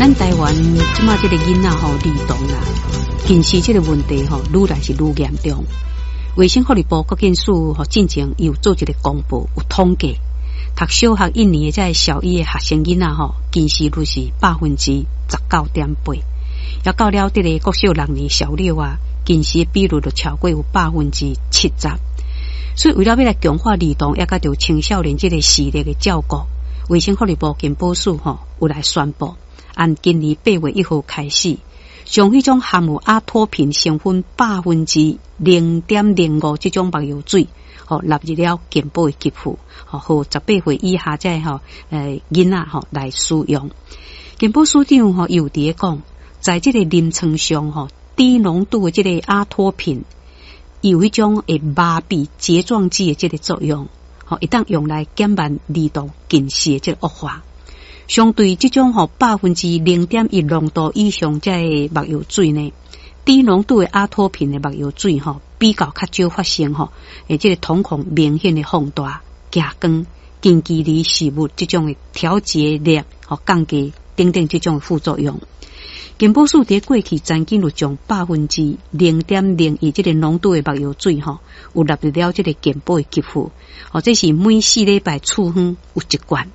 咱台灣這馬這个囡仔吼兒童啦，近視這个問題吼，愈來是愈嚴重。衛生福利部國健署吼進前有做一个公布，有統計，讀小學一年的這个小一的學生囡仔吼，近視率是19.8%，也到了這个國小六年小六啊，近視的比率就超過有70%。所以為了欲來強化兒童，抑佮著青少年這个視力的照顧，衛生福利部健保署吼有來宣布，按今年8月1號開始，將彼種含有阿托品成分0.05%這種目藥水，吼納入了健保的給付，吼予18歲以下這个吼囡仔吼來使用。健保署長吼有佇咧講，在這个臨床上吼低濃度的這个阿托品，有彼種會麻痹睫狀肌的這个作用，吼會當用來減慢兒童近視的這个惡化。相對這種吼0.1%濃度以上這个目藥水呢，低濃度的阿托品的目藥水吼，比較較少發生吼，這个瞳孔明顯的放大、激光、近距離視物這種的調節力吼降低等等這種的副作用。健保署佇過去曾經有將0.01%這个濃度的目藥水吼，有納入了這个健保的給付，吼，這是每4禮拜處方有一罐。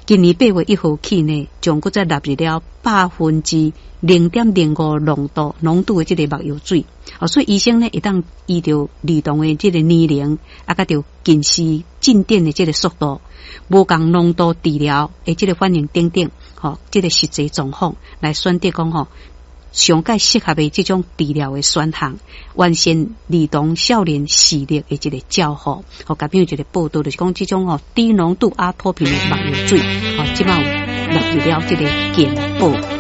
今年8月1號起呢，將閣再納入了0.05%濃度的這个目藥水，哦，所以醫生呢會當依著兒童的這个年齡，啊，佮著近視進展的這个速度，無仝濃度治療的這个反應等等，吼，這个實際狀況來選擇講吼，上蓋適合的這種治療的選項，完善兒童少年視力的這个照護。吼，下邊有一个報道，就是講這種吼低濃度阿托品的目藥水，吼，這馬有納入了這个健保。